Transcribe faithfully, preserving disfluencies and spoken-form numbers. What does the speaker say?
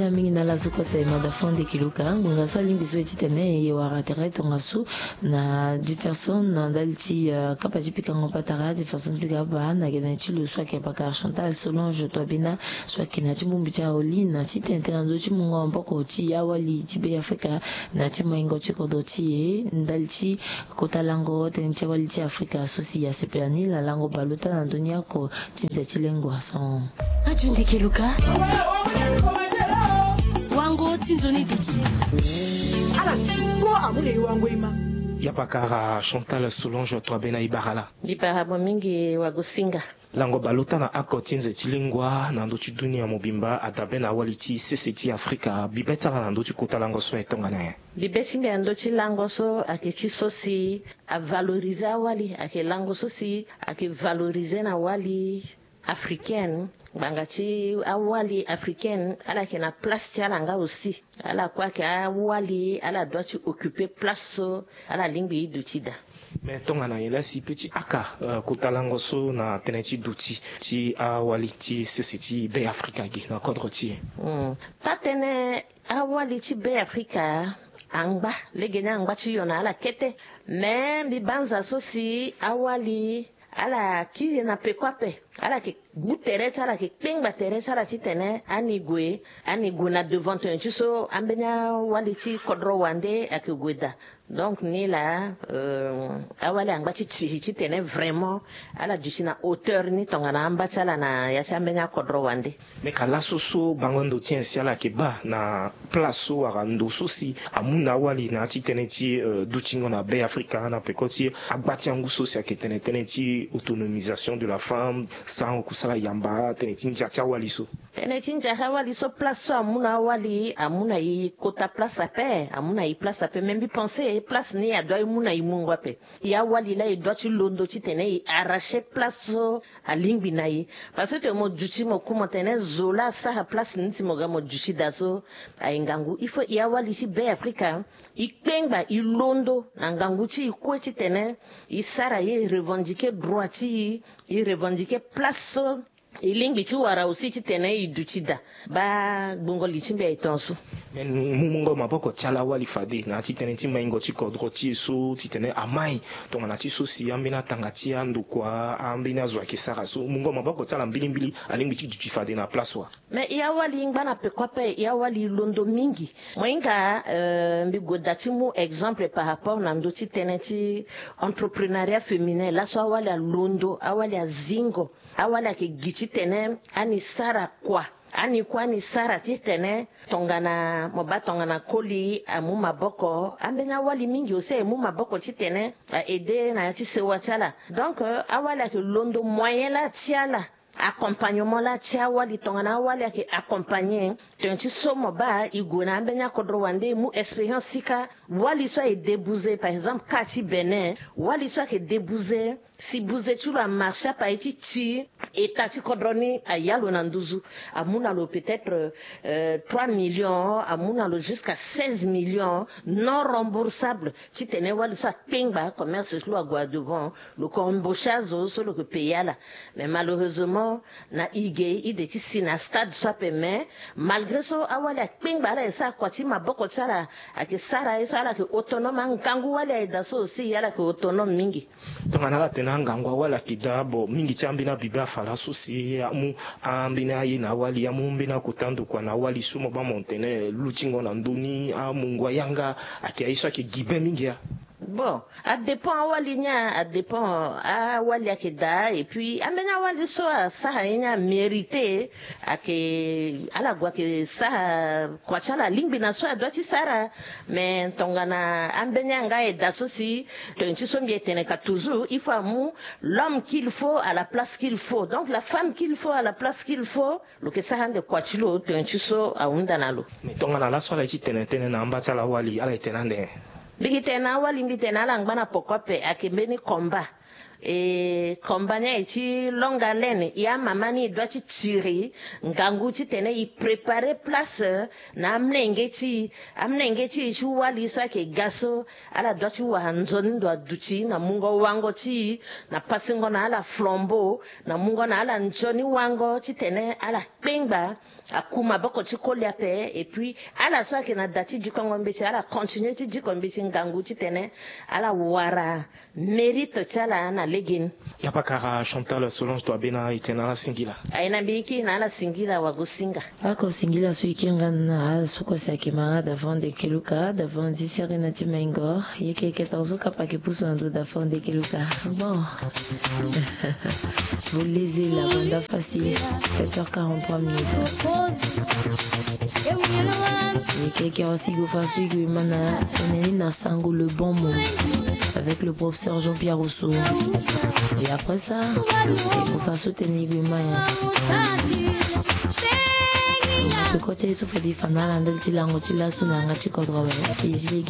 Mingi na ala so kue sa e mada fande kiluka ngonga so alingbi so e titene e wara tere tongaso na Jefferson na ndali ti kapa ti pikango patara Jefferson ti ga abaa na gene ti lo so ayeke pakara Chantal Solange Twabena so ayeke na ti bongbi ti aoli na ti tene tene na ndö ti mungo maboko ti awali ti Be Afrika na ti maingo ti kodro ti e ndali ti kota lango tënë ti awali ti Afrika so si asepela ni la lango baleota na ndö ni oko ti nze ti lengua so. Ajundi keluka. Wango ti nzoni duti. Ala ti kpo amu na e wango e ma. Ya pakara Chantal Solange Twabena e bara la. Mbi bara mo mingi wagosinga. Lango baleota na oko ti nze ti lingua na ndö ti dunia mobimba adabe na awali ti sese ti Afrika. Bibe ti ala na ndö ti kota lango so aye tongana nyen? Bibe ti mbi na ndö ti lango so ayeke ti so si avalorize awali, ayeke lango so si ayeke valorize na wali africaine. Ngbanga ti awali africaine ala yeke na place ti ala nga aussi. Ala kue ayeke awali ala doit ti occuper place so ala lingbi e duti daa. Mais tongana nyen la si peut ti aka kota lango so na tënë ti duti ti awali ti sese ti Be Afrika gi na kodro ti e? Taa-tënë awali ti Be Afrika angba, lege ni angba ti yo na ala kete. Mais mbi banza so si awali ala kiri na peko ape. Ala yeke gu tere ti ala, ala yeke kpengba tere ti ala titene ani gue, ani gue na devant tene ti so ambeni awali ti kodro wande ayeke gue daa. Donc ni laa awali angba ti tiri titene vraiment ala duti na hauteur ni tongana amba ti ala na ya ti ambeni akodro wande. Me ka laso so bango ndo ti nyen si ala yeke baa na place so wala ndo so si amu na awali na ya ti tënë ti dutingo na Be Afrika na peko ti agba ti angu so si ayeke tene tënë ti autonomisation de la femme, sarango kusala yamba, tënë ti ndia ti awali so. Tënë ti ndia ti awali so place so amu na awali amu na e kota place ape, amu na e place ape. Me mbi pense place ni adoit e mu na e mungo ape. E awali laa e doit ti londo titene e arracher place so alingbi na e. Parce que tene mo duti mo ku mo tene zo laa asara place ni si mo ga mo duti daa so aye ngangu. Il faut e awali ti Be Afrika e kpengba e londo na ngangu ti e kue titene e sara ye, e revendiquer droit ti e, e revendiquer place so e lingbi ti wara aussi titene e duti daa. Baa gbungo li ti mbi aye tongaso. Me mu mungo maboko ti ala awali fade na ya ti tënë ti maingo ti kodro ti e so titene amai tongana ti so si ambeni atanga ti andokua, ambeni azo ayeke sara so, mungo maboko ti ala mbilimbili alingbi ti duti fade na place wa? Me e awali ngba na peko ape, e awali londo mingi. Mo hinga mbi gue daa ti mu exemple par rapport na ndö ti tënë ti entreprenariat féminin. Laso awali alondo, awali azingo. Awali ayeke gi titene ani sara kua. Ani kue ani sara titene tongana mo baa tongana koli amu maboko, ambeni awali mingi aussi aye mu maboko titene a aider na ya ti sewa ti ala. Donc awali ayeke londo moyen laa ti ala, accompagnement laa ti awali tongana awali ayeke accompagner. Tene ti so mo baa e gue na ambeni akodro wande e mu expérience ti ka. Wali so aye débouze par exemple ka ti Bénin, wali so ayeke débouze si buze ti lo amarche ape aye ti ti eta ti kodro ni aya lo na nduzu. Amu na lo peut-être trois millions, amu na lo jusqu'à seize millions non remboursables. Titene wali so akpengba commerce ti lo ague na devant, lo ke embaucher azo so lo ke payer ala. Mais malheureusement na e ge e de ti si na stade so ape. Mais malgré so awali akpengba, ala ye sara kua ti maboko ti ala, ayeke sara ye so ala yeke autonome. Angangu wali aye daa so aussi ala yeke autonome mingi. Tongana ala tene angangu awali ayeke daa, bon, mingi ti ambeni abibe afa laso si amu ambeni aye na awali, amu ambeni akota ndokua na awali so mo baa mo tene lutingo na ndö ni, amungo ayanga, ayeke aye so ayeke gi be mingi ya. Bon, adépend awali ni a, adépend awali ayeke daa. Et puis ambeni awali so asara ye ni amérite, ayeke ala gue ayeke sara kua ti ala alingbi na so adoit ti sara. Mais tongana ambeni anga aye daa so si tene ti so mbi ye tene ka toujours, il faut amu l'homme qu'il faut à la place qu'il faut, donc la femme qu'il faut à la place qu'il faut. Lo ke sara ande kua ti lo tene ti so ahunda na lo. Mais tongana laso ala ye ti tene tënë na amba ti ala awali, ala ye tene ande? Mbi ke tene na awali, mbi tene ala ngba na poko ape, ayeke mbeni combat. E komba ni aye ti longue haleine, e amama ni e doit ti tiri ngangu titene e préparer place na amlenge ti e. Amlenge ti e ti wali so ayeke ga so, ala doit ti wara nzoni ndo aduti na mungo wango ti e, na pasingo na ala flambeau, na mungo na ala nzoni wango titene ala kpengba aku maboko ti koli ape. Et puis ala so ayeke na da ti dikongo mbeti, ala continuer ti diko mbeti ngangu titene ala wara mérite ti ala na legeni. Yapa kara Chantal Solange Toabena, e tene na ala singila. Aye na mbi ki na ala singila wago singa. Ako singila so e kiri nga na ala so kue si ayeke ma nga Davon de Keluka, Davon zi seri na ti Maingor. Yeke yeke tongaso kapa ayeke pusu na ndo Davon de Keluka. Bon. Boleze la banda facile. Sept heures quarante-trois minutes. Yeke yeke aussi go fa so e go e ma na tene ni na sango le bon mot avec le professeur Jean-Pierre Rousseau. Et après ça, e go fa so tene e go e ma ya. Koko ti aye so fade e fa na ala ndali ti lango ti laso na yanga ti kodro awe. Saisie.